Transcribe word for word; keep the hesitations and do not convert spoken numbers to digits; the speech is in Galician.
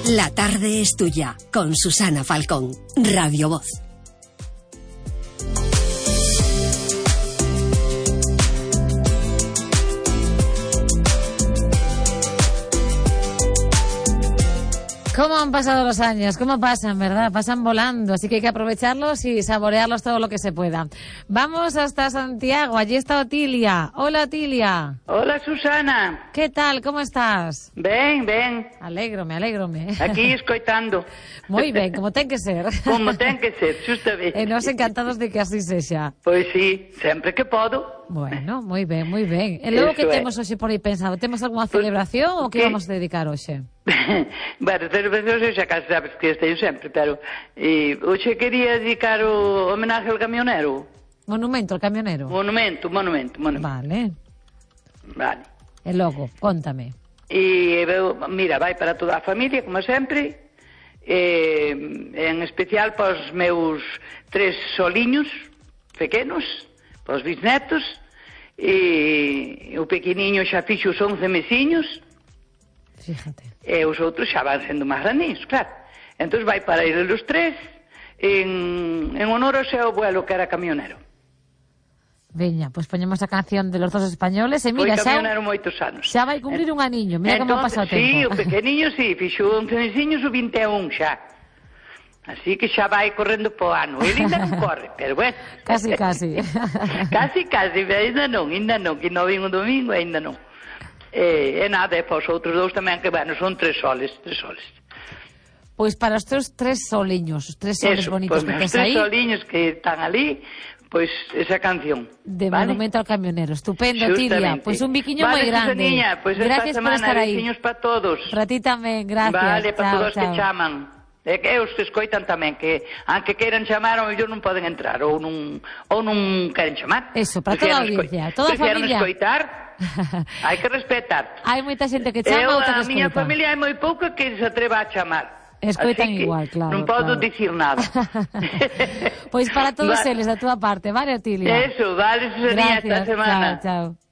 La tarde es tuya, con Susana Falcón, Radio Voz. ¿Cómo han pasado los años? ¿Cómo pasan, verdad? Pasan volando, así que hay que aprovecharlos y saborearlos todo lo que se pueda. Vamos hasta Santiago, allí está Otilia. Hola, Otilia. Hola, Susana. ¿Qué tal? ¿Cómo estás? Ben, ben. Alégrome, alégrome. Aquí escoitando. Moi ben, como ten que ser. Como ten que ser, justamente. E nós encantados de que así sexa. Pois sí, sempre que podo. Bueno, moi ben, moi ben. E logo Eso que é. temos hoxe por aí pensado? Temos algunha celebración ou que ¿Qué? vamos a dedicar hoxe? Bueno, celebracións xa casi sabes que esteio sempre, pero eh, hoxe quería dedicar o homenaje ao camionero. Monumento ao camionero. Monumento, monumento, monumento. Vale. Vale. E logo, contame. E, veu, mira, vai para toda a familia, como sempre, eh, en especial para os meus tres soliños pequenos, para os bisnetos, e o pequeniño xa fixo os once mesiños, Fíjate. e os outros xa van sendo máis grandinhos, claro. Entón vai para eles os tres en, en honor ao seu abuelo que era camionero. Veña, pois poñemos a canción de los dos españoles e Foi mira, xa, camionero moitos anos. xa vai cumprir un aniño. Mira como pasa o tempo. Sí, o pequeniño sí, fixo once mesiños o vinte e un xa. Así que xa vai correndo po ano. Ele ainda non corre, pero bueno. Casi, casi. Casi, casi, pero ainda non, ainda non, que non vin un domingo, ainda non. E, e nada, e para os outros dous tamén, que bueno, son tres soles, tres soles. Pois para os teus tres soliños, os tres soles Eso, bonitos pues, que os tes tres aí, soliños que están ali, pois esa canción. de ¿vale? Monumento ao Camionero. Estupendo, Tilia. Justamente. Pois un biquiño moi vale, grande. Susaniña, pois esta Gracias por semana, estar aí. besiños para todos. Para ti tamén, gracias. Vale, para chao, todos chao. que chaman. E que os que escoitan tamén, que aunque queiran chamar, ao mellor non poden entrar, ou non, ou non queren chamar. Eso, para toda a Prefieran audiencia, escoi- toda a prefieran familia. escoitar, hai que respetar. Hai moita xente que chama, Eu, outra a que miña escoita. familia é moi pouca que se atreva a chamar. Escoitan Así que igual, claro, non podo claro. dicir nada. Pois para todos Va- eles, da túa parte, vale, Otilia? Eso, vale, Susaniña, esta Gracias, semana. chao, chao.